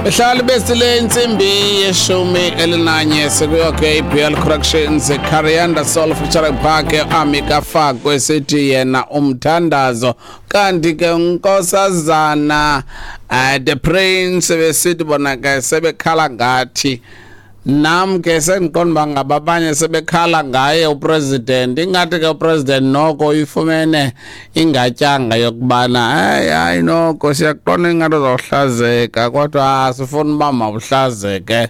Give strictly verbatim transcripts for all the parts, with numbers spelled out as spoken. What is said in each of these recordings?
Behlali besile intsimbi yeshumi elinanye sikuyo ke i-B L Corrections, Carianda Soul featuring Park Amika Fakwe, sithi yena umthandazo. Kanti ke unkosazana uh, the Prince besithi bona ke sebekhala ngathi, nam ke sendiqonda uba ngaba abanye sebekhala ngaye upresident. Ingathi ke upresident noko uyifumene ingatyanga yokubana hayi, hayi, noko siyaqonda ingathi uzawuhlazeka, kodwa asifuni uba mawuhlazeke,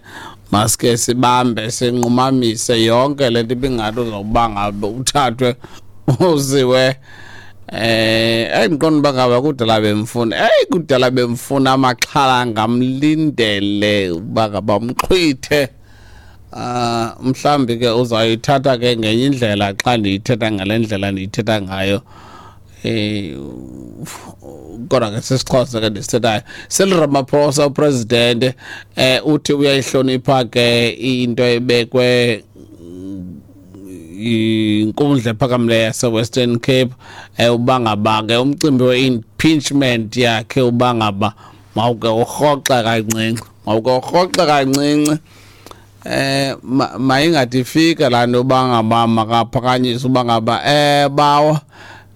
maske sibambe sinqumamise yonke le nto ibingathi uzawuba ngabe uthathwe uziwe. eh endiqonda uba ngaba kudala bemfuna, eyi, kudala bemfuna, amaxhala ngamlindele uba ngaba mxhwithe. Ah, mhlambi ke uzayithatha ke ngenye indlela xa ndiyithetha ngale ndlela ndiyithetha ngayo, eh kodwa ke sisiXhosa ke ndisithethayo. Cyril Ramaphosa upresident eh uthi uyayihlonipha ke into ebekwe inkundla ephakamileyo yase-Western Cape, eh uba ngaba ke umcimbi we-impeachment yakhe uba ngaba mawuke urhoxe kancinci, mawuke urhoxe kancinci. eh mayingathi ifika laa nto uba ngaba makaphakanyiswe, uba ngaba eh bawo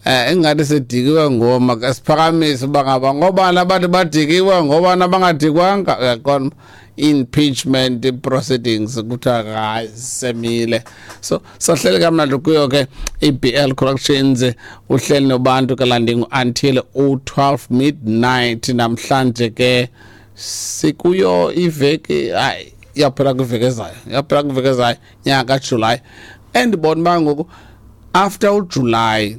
eh ingathi sidikiwe ngoma ke siphakamise uba ngaba ngobani abantu badikiwe, ngobani abangadikwanga, uyaqonda, impeachment proceedings kuthiwa hayi, semile. So sahleli kamnandi kuyo ke i-B L Corrections, uhleli nobantu ke landing until u-twelve midnight namhlanje ke. Sikuyo iveki, hayi, iyaphela kwiveki ezayo, iyaphela kwiveki ezayo nyanga kaJuly. Endibona uba ngoku after uJuly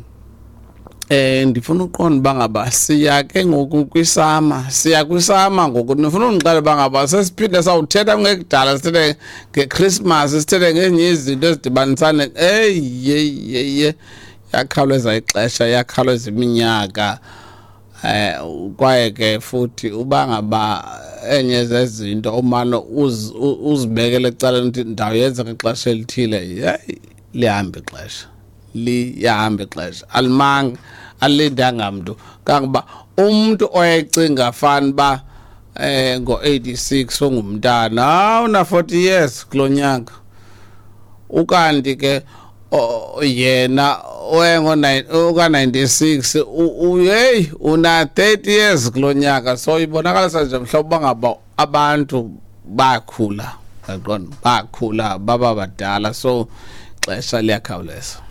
eh ndifuna uqonda uba ngaba siya ke ngoku kwisummer, siya kwisummer ngoku. Ndifuna undixele uba ngaba sesiphinde sawuthetha kungekudala, sithethe ngeChristmas, sithethe ngezinye izinto ezidibanisane. Eyi, yeyi, yeyi, yakhawuleza ixesha, yakhawuleza iminyaka. eh kwaye ke futhi uba ngaba enye zezinto umane uzibekele ecaleni uthi ndawuyenza ngexesha elithile, yeyi, lihamba ixesha, liyahamba ixesha, alimanga, alilindanga mntu. Kangoba umntu oyecinga fana uba eh ngo-eighty-six ungumntana, hawu, una forty years kulo nyaka, ukanti ke yena oyengo uka-ninety-six, hey, una thirty years kulo nyaka. So ibonakalisa nje mhlawumbe uba ngaba abantu bakhula, yaqonda, bakhula baba badala, so ixesha liyakhawuleza.